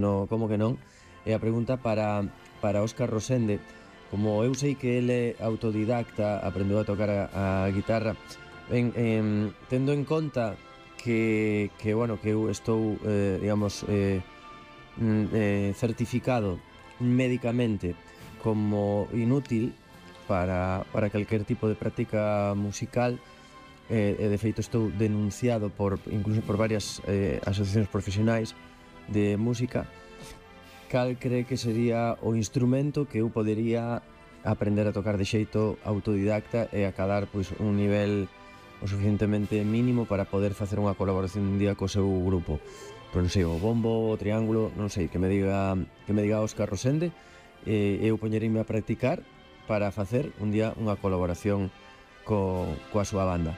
No, como que non? E a pregunta para Óscar Rosende. Como eu sei que ele é autodidacta, aprendeu a tocar a guitarra, tendo en conta que bueno, que eu estou, digamos, certificado médicamente como inútil para calquer tipo de práctica musical, e de feito estou denunciado incluso por varias asociacións profesionais de música. Cal cree que sería o instrumento que eu podería aprender a tocar de xeito autodidacta e acadar pois un nivel o suficientemente mínimo para poder facer unha colaboración un día co seu grupo? Pois non sei, o bombo, o triángulo, non sei, que me diga Óscar Rosende, e eu poñereime a practicar para facer un día unha colaboración coa súa banda.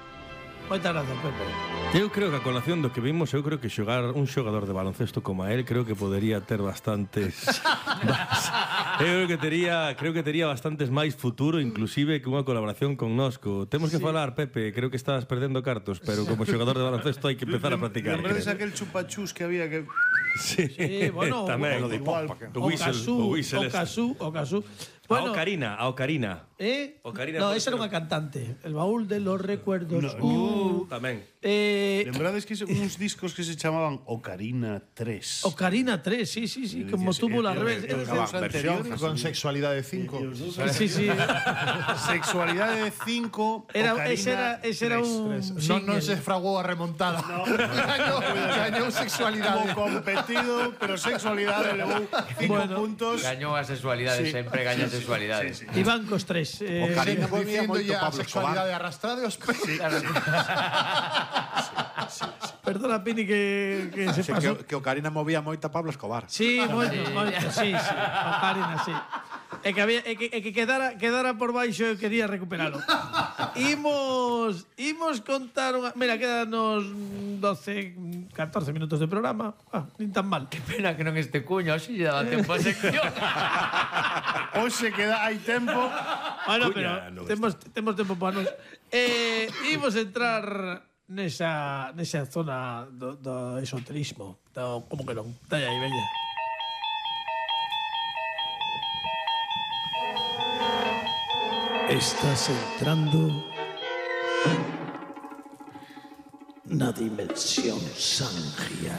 Moitas gracias, Pepe. Eu creo que a colación do que vimos, eu creo que xogar un xogador de baloncesto como a él, creo que podería ter bastantes eu creo que tería bastantes máis futuro, inclusive que unha colaboración con Nosco. Temos que falar, Pepe, creo que estás perdendo cartos, pero como xogador de baloncesto hai que empezar a practicar. Lembrades aquel chupachus que había que... Sí, bueno, tamén, o Casú. Bueno, a Ocarina. No, esa era unha cantante. El baúl de los recuerdos. Tamén. Lembrades que uns discos que se chamaban Ocarina 3. Ocarina 3, sí, como tuvo la revés. Con Sexualidade 5. Sí. Sexualidade 5. Ese era un... Non se fraguou a remontada. Gañou Sexualidade. Como competido, pero Sexualidade levou 5 puntos. Gañou a sexualidade, sempre gaña a sexualidade. Y bancos 3. Ocarina movía moito a sexualidade arrastrada os pés. Perdona, Pini, que se pasó. Que Ocarina movía moito a Pablo Escobar. Sí, moito, sí. Ocarina, sí. É que quedara por baixo, eu quería recuperalo. Imos contar unha... Mira, quedanos 12, 14 minutos de programa. Nin tan mal. Que pena que non este cuño, así lle daba tempo a sección. Hoxe hai tempo. Bueno, pero temos tempo para nos. Imos entrar nesa zona do esoterismo. Como que non? Está aí, veña. Estás entrando na dimensión Sangia.